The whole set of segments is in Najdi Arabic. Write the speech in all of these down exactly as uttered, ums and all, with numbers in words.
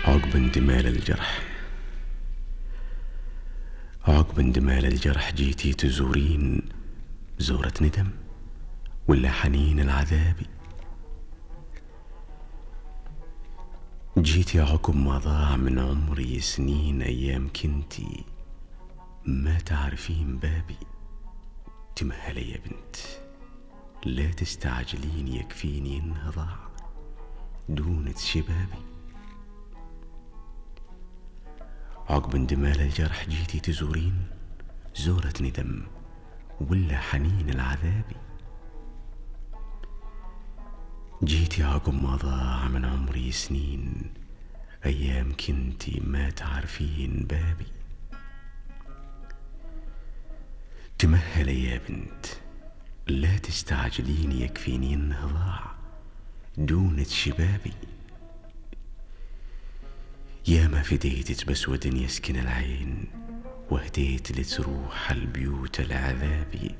عقب اندمال الجرح عقب اندمال الجرح جيتي تزورين زورة ندم ولا حنين العذاب؟ جيتي عقب ما ضاع من عمري سنين، أيام كنتي ما تعرفين بابي. تمهلي يا بنت، لا تستعجلين، يكفيني إنها ضاع دونة شبابي. عقب اندمال الجرح جيتي تزورين زورة ندم ولا حنين العذاب؟ جيتي عقب ما ضاع من عمري سنين، أيام كنتي ما تعرفين بابي. تمهلي يا بنت، لا تستعجلين، يكفيني إنها ضاع دونة شبابي. يا ما فديت بسود يسكن العين، وهديت لتروح البيوت العذابي،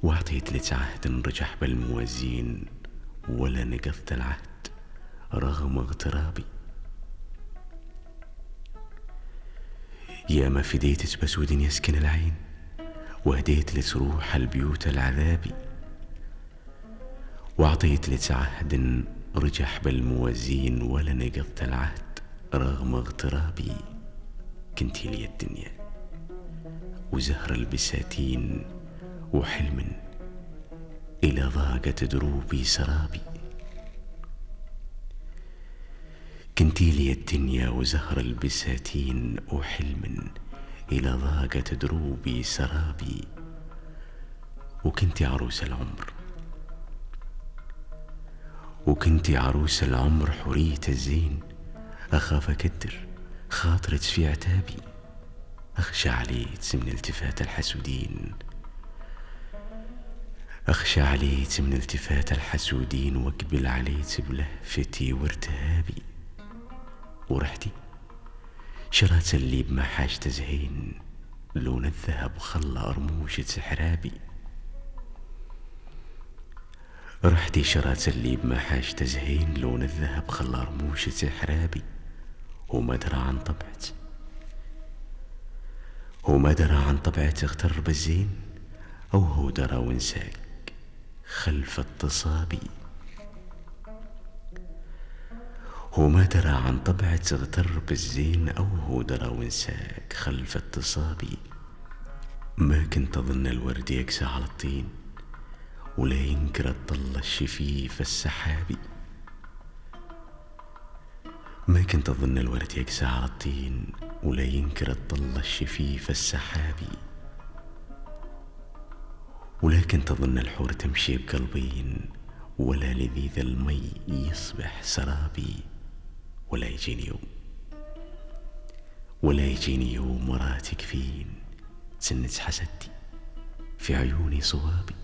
واعطيت لك عهد رجح بالموازين، ولا نقضت العهد رغم اغترابي. يا ما فديت بسود يسكن العين، وهديت لتروح البيوت العذابي، واعطيت لك عهد رجح بالموازين، ولا نقضت العهد رغم اغترابي. كنتي لي الدنيا وزهر البساتين، وحلم إلى ضاقت دروبي سرابي. كنتي لي الدنيا وزهر البساتين، وحلم إلى ضاقت دروبي سرابي. وكنتي عروس العمر وكنتي عروس العمر حورية الزين، أخاف أكدر خاطرك في عتابي، أخشى عليك من التفات الحسودين، أخشى عليك من التفات الحسودين، واقبل عليك بلهفتي وارتهابي. ورحتي شرات اللي بمحاش تزهين، لون الذهب خلى أرموشة سحرابي. رحتي شرات اللي بمحاش تزهين، لون الذهب خلى أرموشة سحرابي. وما درى عن طبعت وما درى عن طبعت اغتر بالزين، أو هو درى وانساك خلف التصابي. وما درى عن طبعت اغتر بالزين، أو هو درى وانساك خلف التصابي. ما كنت أظن الورد يقسى على الطين، ولا ينكر الظل الشفيف السحابي. ما كنت أظن الورد يقسى على الطين، ولا ينكر الظل الشفيف السحابي. ولا كنت أظن الحور تمشي بقلبين، ولا لذيذ المي يصبح سرابي. ولا يجيني يوم ولا يجيني يوم وراتك فين، تسنت حسدتي في عيوني صوابي.